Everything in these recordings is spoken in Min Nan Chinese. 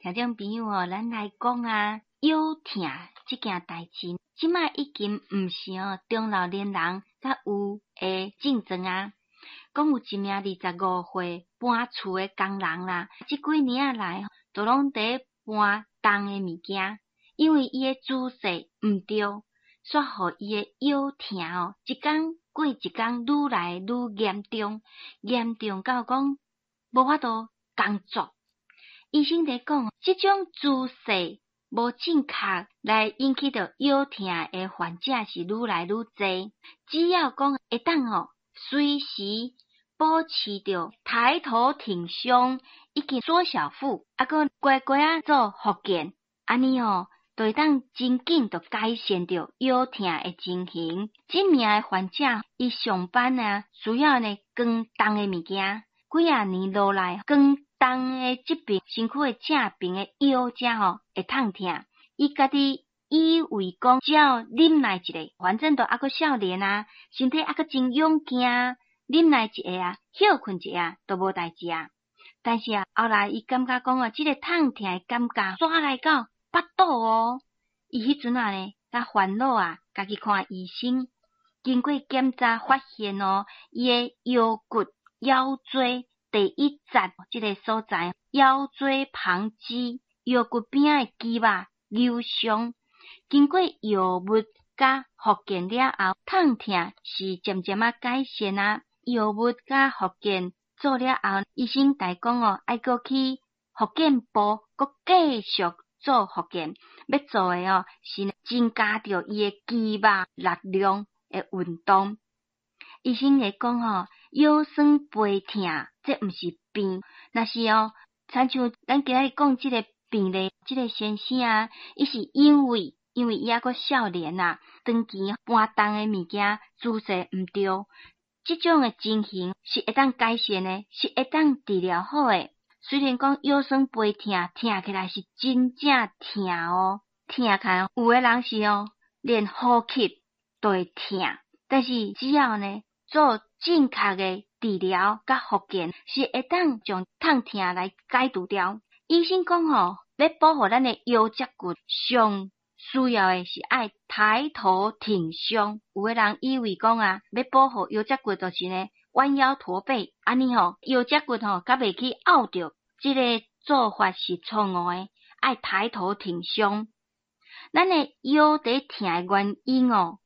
聽眾朋友哦，咱來講啊，腰疼這件代誌，這擺已經毋是哦中老年人才有的症狀啊。講有一名25歲搬厝的工人啦，這幾年仔來都攏佇搬重的物件，因為伊的姿勢毋對，煞予伊的腰疼哦，一工過一工愈來愈嚴重，嚴重到講無法度工作。醫生佇講，這種姿勢無正確來引起著腰疼的患者是愈來愈濟。只要講會當吼，隨時保持著抬頭挺胸，以及縮小腹，啊，閣乖乖仔做復健，按呢吼，就會當真緊就改善著腰疼的情形。這名的患者，伊上班啊需要呢扛重的物件，幾仔年落來扛重的這邊身軀的正邊的腰遮吼會痛疼。伊家己以為講只要忍耐一下，反正都猶閣少年啊，身體猶閣真勇健，忍耐一下啊，歇睏一下都無代誌啊。但是啊，後來伊感覺講啊，這個痛疼的感覺煞來到腹肚哦。伊彼陣仔呢，較煩惱啊，家己看醫生，經過檢查發現哦，伊的腰骨腰椎第一節這个所在，腰椎旁肌腰骨邊仔的肌肉扭傷。經過藥物佮復健了後，痛疼是漸漸仔改善啊。藥物佮復健做了後，醫生共伊講哦，愛閣去復健部，閣繼續做復健。欲做的哦，是增加著伊的肌肉力量的運動。醫生會講吼，腰酸背疼，這毋是病。若是哦，親像咱今仔日講這个病例，這个先生啊，伊是因為伊猶閣少年啊，長期搬重的物件，姿勢毋對，這種的情形是會當改善的，是會當治療好的。雖然講腰酸背疼，聽起來是真正疼哦，疼起來有的人是哦，連呼吸都會疼。但是只要呢做正確的治療佮復健，是會當將痛疼來解除掉。醫生講吼，欲保護咱的腰脊骨，上需要的是愛抬頭挺胸。有的人以為講啊，欲保護腰脊骨就是呢彎腰駝背，按呢吼腰脊骨吼較袂去拗著。這個做法是錯誤的，愛抬頭挺胸。咱的腰佇疼的原因哦，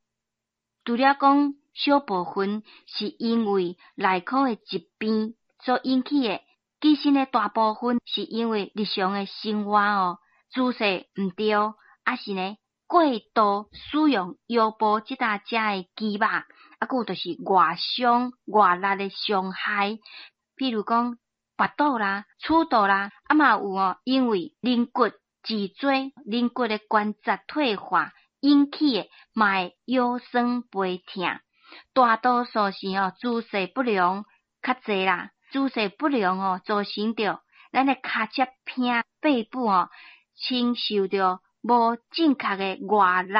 除了講小部分是因為內科的疾病所引起的，其實呢大部分是因為日常的生活哦姿勢毋對，抑是呢過度使用腰部這搭遮的肌肉，啊，閣有就是外傷、外力的傷害，譬如講跋倒啦、杵倒啦，啊嘛有哦，因為軟骨、脊椎、軟骨的關節退化引起的，嘛會腰酸背疼。大多數是哦姿勢不良較濟啦，姿勢不良哦造成著咱的跤脊骿背部哦承受著無正確的外力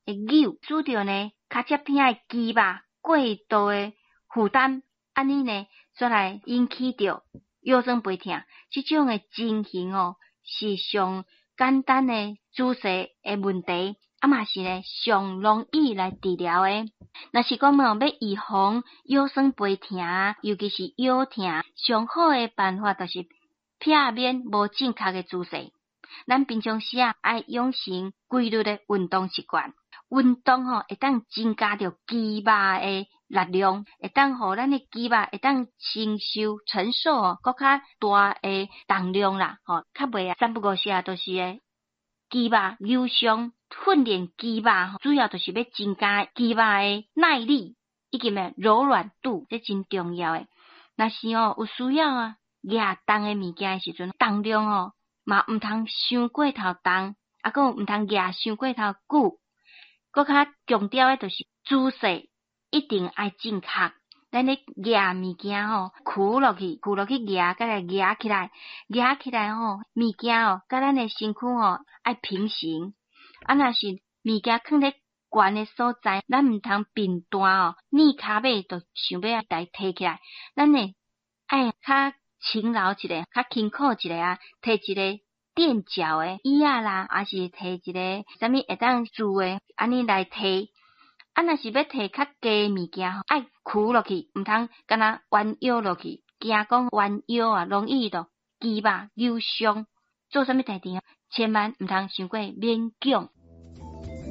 的扭，使著呢跤脊骿的肌肉過度的負擔，按呢呢，煞來引起著腰酸背疼。這種的情形哦，是上簡單的姿勢的問題，啊嘛是呢上容易來治療的。若是講哦，欲預防腰酸背疼，尤其是腰疼，上好的辦法就是避免無正確的姿勢。咱平常時啊，愛養成規律的運動習慣。運動吼會當增加著肌肉的力量，會當予咱的肌肉會當承受承受哦，閣較大的重量啦，吼，較袂啊三不五時啊，就是會肌肉扭傷。訓練肌肉主要就是欲增加肌肉的耐力以及呢柔軟度，這真重要的。若是哦有需要啊，舉重的物件的時陣，重量哦嘛毋通傷過頭重，啊，閣毋通舉傷過頭久。閣較強調的就是姿勢一定愛正確。咱咧舉物件吼，屈落去，屈落去舉，閣來舉起來，舉起來吼，物件哦，佮咱的身軀吼愛平行。啊，若是物件囥咧懸的所在，咱毋通貧惰哦，躡跤尾就想欲共伊提起來。咱呢愛較勤勞一下，較勤苦一下啊，提一个墊腳的椅仔啦，抑是提一个啥物會當坐的，按呢來提。啊，若是欲提較低的物件，愛屈落去，毋通敢若彎腰落去，驚講彎腰啊，容易著肌肉扭傷。做啥物代誌，千萬毋通傷過勉強。